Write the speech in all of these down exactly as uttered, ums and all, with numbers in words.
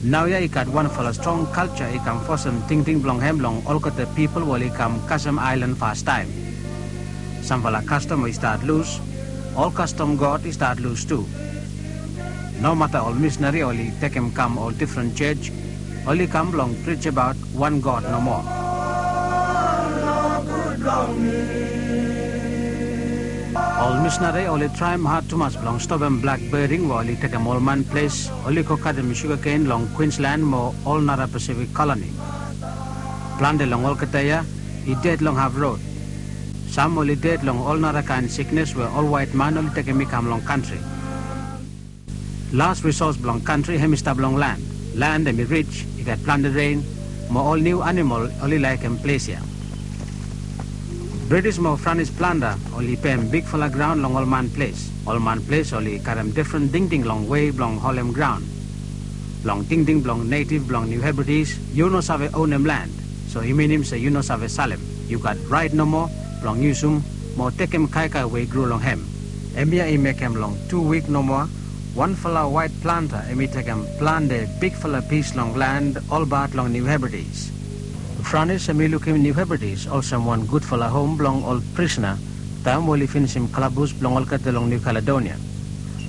Naoia i gat wanfala strong kalja i kam fosem tingting blong hem long olgeta pipol we oli kam kasem aelan fastaem. Samfala kastom we i stat lus, ol kastom god i stat lus tu. Nomata ol misnari oli tekem kam ol difren jos, oli kam blong prijabaot wan god nomo. Ol misnari oli traem had tumas blong stopem blak bering we oli tekem ol man ples, oli go katem shugaken long Queensland mo ol nara Pasifik koloni. Plante long olgeta ya i ded long haf rod. Sam oli ded long ol nara kaen siknes we ol waet man oli tekem i kam long kantri. Las risos blong kantri hem i stap long lan. Lan hem i rij, i gat plante ren, mo ol niu animol oli laekem ples ya. Britis mo Franis planta oli pem bigfala graon long ol man ples. Ol man ples oli karem difren tingting long wei blong holem graon. Long tingting blong netiv blong Niu Hebridis, yu no save onem lan. So i minim se yu no save salem. Yu gat raet nomo blong yusum mo tekem kaikai we i gro long hem. Hemia i mekem long tu wik nomo, wanfala waet planta hem i tekem plante bigfala pis long lan olbaot long Niu Hebridis. Franis hem i lukim Niu Hebridis olsem wan gudfala hom blong ol prisona taem we oli finisim kalabus blong olgeta long Niu Kaledonia.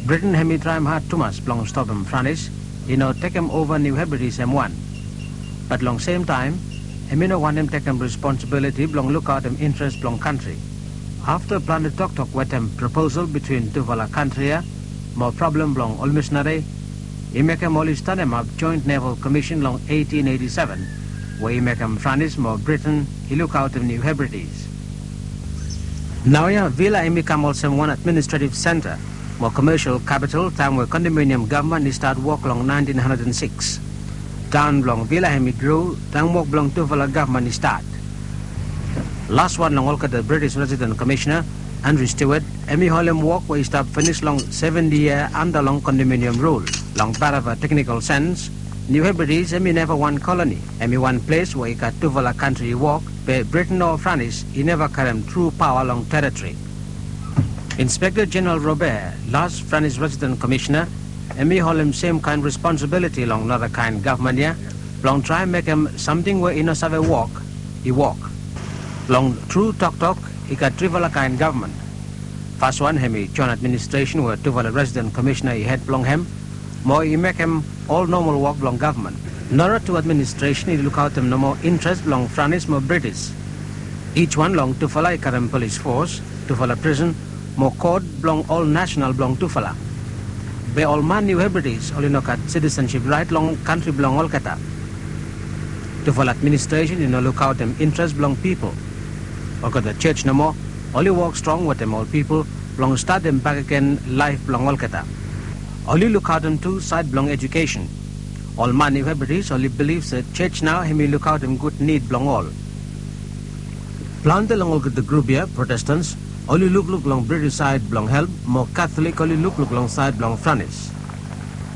Briten hem i traem had tumas blong stopem Franis i no tekem ova Niu Hebridis hem wan. Bat long semtaem hem i no wantem tekem responsibiliti blong lukaotem interes blong kantri. Afta plante toktok wetem proposal bitwin tufala kantri ya mo prablem blong ol misnari, i mekem oli stanemap Joint Naval Commission long eitin eiti seven, we i mekem Franis mo Briten i lukaotem Niu Hebridis. Naoia Vila hem i kam olsem wan administretiv senta mo komesial kapital taem we kondominiam gavman i stat wok long naentin handred an sikis. Taon blong Vila hem i gro taem wok blong tufala gavman i stat. Laswan long olgeta Britis residen komesina, Andrew Stewart, hem i holem wok we i stap finis long seventi yia anda long kondominiam rul. Long barava teknikol sens, Niu Hebridis hem i neva wan koloni. Hem i wan ples we i gat tufala kantri i wok, be Briten o Franis i neva karem tru paoa long teritori. Inspekta Jeneral Robert, las Franis residen komesina, hem i holem semkaen responsibiliti long narakaen gavman ya blong traem mekem samting we i no save wok i wok. Long tru toktok, i gat trifala kaen gavman. Faswan hem i joen administresen we tufala residen komisena i hed blong hem, mo i mekem ol nomol wok blong gavman. Nara tu administresen i lukaotem nomo interes blong Franis mo Britis. Ijwan long tufala i karem polis fos, tufala prison, mo kot blong ol nasenal blong tufala. Be ol man Niu Hebridis oli no gat sitisensip raet long kantri blong olgeta. Tufala administresen i no lukaotem interes blong pipol. Olgeta jos nomo oli wok strong wetem ol pipol blong statem bakegen laef blong olgeta. Oli lukaotem tu saed blong ejukesen. Ol man Niu Hebridis oli bilif se jos nao hem i lukaotem gud nid blong ol. Plante long olgeta grup ya, Protestans, oli lukluk long Britis saed blong help, mo Katolik oli lukluk long saed blong Franis.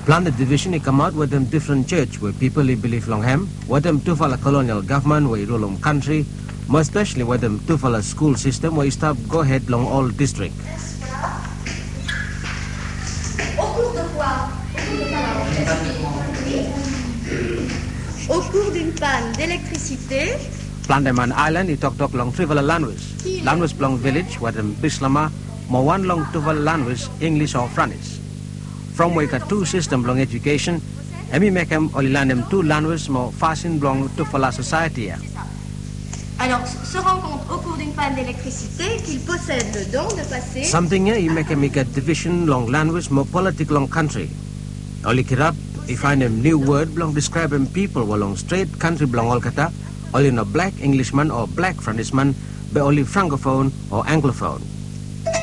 Plante divisen i kamaot wetem difren jos we pipol i bilif long hem, wetem tufala kolonial gavman we i rulum kantri, mo espeseli wetem tufala skul sistem we i stap gohed long ol distrik. Au cours de quoi? Au cours d'une panne d'électricité. Plante man aelan i toktok long trifala lanwis. Lanwis blong vilej wetem Bislama, mo wan long tufala lanwis, Inglis o Franis. From we i gat tu sistem blong ejukesen, hem i mekem oli lanem tu lanwis mo fasin blong tufala sosaeti ya. Alors, se rend compte au cours d'une panne d'électricité qu'il possède le don de passer. Samting ya i mekem i gat divisen long lanwis mo politik long kantri. Oli kirap i faenem niu wod blong diskraebem pipol we long stret kantri blong olgeta, oli no blak Inglisman o blak Franisman, be oli frankofon o anglofon.